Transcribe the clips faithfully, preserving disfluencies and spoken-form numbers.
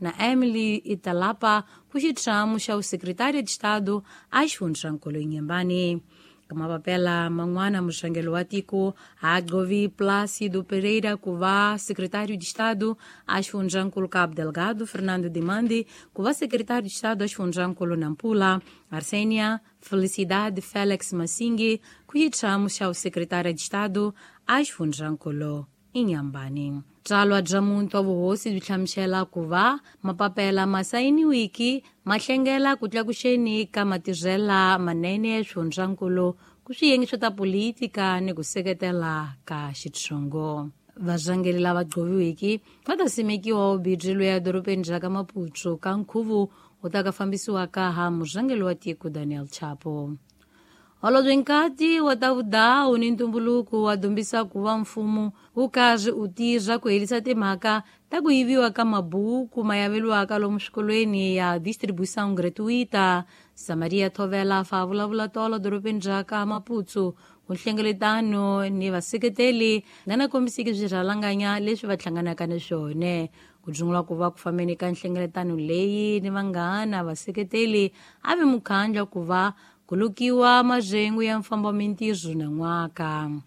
Na Emily Italapa ku xitshamo xa Secretário de Estado a xifundzankulu Inhambane. Kamapapela man'wana muxangelo wa tiko a gqovi Plácido Pereira ku va secretário de Estado a xifundzankulu Cabo Delgado, Fernando Dimandi ku va secretário de Estado a xifundzankulu Nampula, Arsênia Felicidade Félix Massingue ku xitshamo xa secretário de Estado a xifundzankulu Inhambane. Tsalwa bya muntu wa vuhosi byi hlamusela ku va mapapela ma sayiniwiki ma hlengela ku tlakuxeni ka matirhela manene ya swifundzankulu ku swiyenge swa ta politika ni ku seketela ka xitshungo. Varhangeri lava gqoviwiki va ta simekiwa ubidyi loyi edorobeni ra ka Maputo ka nkhuvo wu ta ka fambisiwaka ha murhangeri wa tiko Daniel Chapo. Holobye Nkati wa ta vudawu ni ntumbuluko wa dumbisa ku va mfumo wu karhi u tirha ku herisa timhaka ta ku yiviwa ka mabuku ma yaveliwaka lomu swikolweni ya distribuição gratuita. Samaria Thovela fa vulavula tolo dorobeni ra ka Maputo ku nhlengeletano ni vaseketeli na na kombisiki swirhalanganya leswi va hlanganaka na swona. Ku dzungula ku va ku fambeni ka nhlengeletano leyi ni vanghana vaseketeli a vi mukhandla ku va ku lukiwa majengu ya mfambo wa mintirho na n'waka.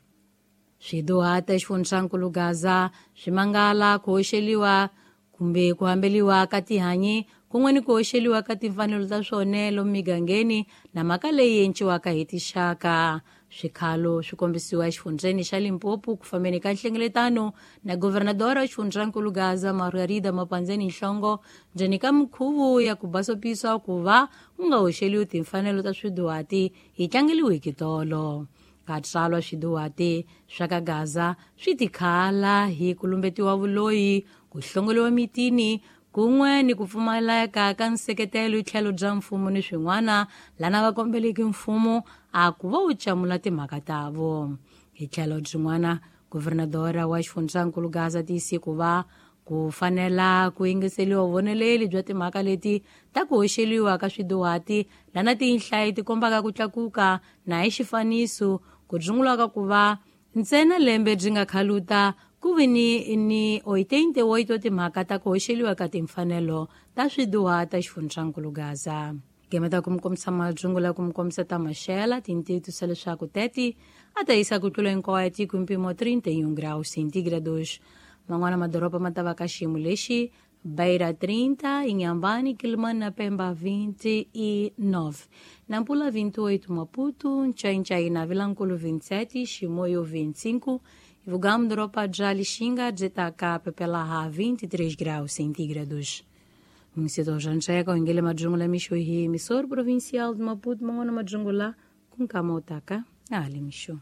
Swiduhata xifundzankulu Gaza swi mangala ku hoxeliwa kumbe ku hambeliwa ka tihanyi kun'we ni ku hoxeliwa ka timfanelo ta swona lomu migangeni na mhaka leyi enciwaka hi tixaka. Swikhalo swi kombisiwa exifundzeni xa Limpopo ku fambeni ka nhlengeletano na governadora wa xifundzankulu Gaza Margarida Mapandzeni Nhlongo ndzeni ka minkhuvo ya ku basopisa ku va ku nga hoxeliwi timfanelo ta swiduhati hi tlangeliwiki tolo. Katsalwa swiduhati swa ka Gaza swi tikhala hi ku lumbetiwa vuloyi, ku hlongoliwa mitini kun'we ni ku pfumaleka ka nseketelo hi tlhelo bya mfumo ni swin'wana lana va kombeleke mfumo a ku va wu camula timhaka ta vo. Hi tlhelo byin'wana governadora wa xifundzankulu Gaza tiyise ku va ku fanela ku yingiseliwa vuvoneleli bya timhaka leti ta ku hoxeliwa ka swiduhati lana tinhlayo ti kombaka ku tlakuka na hi xifaniso ku dzungulaka ku va ntsena lembe byi nga khaluta ku vi ni ni oitenta e oito timhaka ta ku hoxeliwa ka timfanelo ta swiduhata xifundzankulu Gaza. Gemeta ku mi kombisa madzungula ku mi kombisa ta maxela tintiwisa leswaku teti a ta yisa ku tlula hinkwayo tiko hi mpimo trinta e um graus centígrados. Man'wana madoroba ma ta va ka xiyimo lexi: Beira trinta, Inhambane, Quelimane na Pemba vinte e nove, Nampula vinte e oito, Maputo, Nchainchai na Vilanculo vinte e sete, Chimoio vinte e cinco, Ivugamo doroba de Lixinga Zetaka Pepelaha vinte e três graus centígrados. Município de Janchega, Ingele Majungula Mixo hi emissor provincial de Maputo, Mangona Majungula, com Kamotaka, Ali Mixo.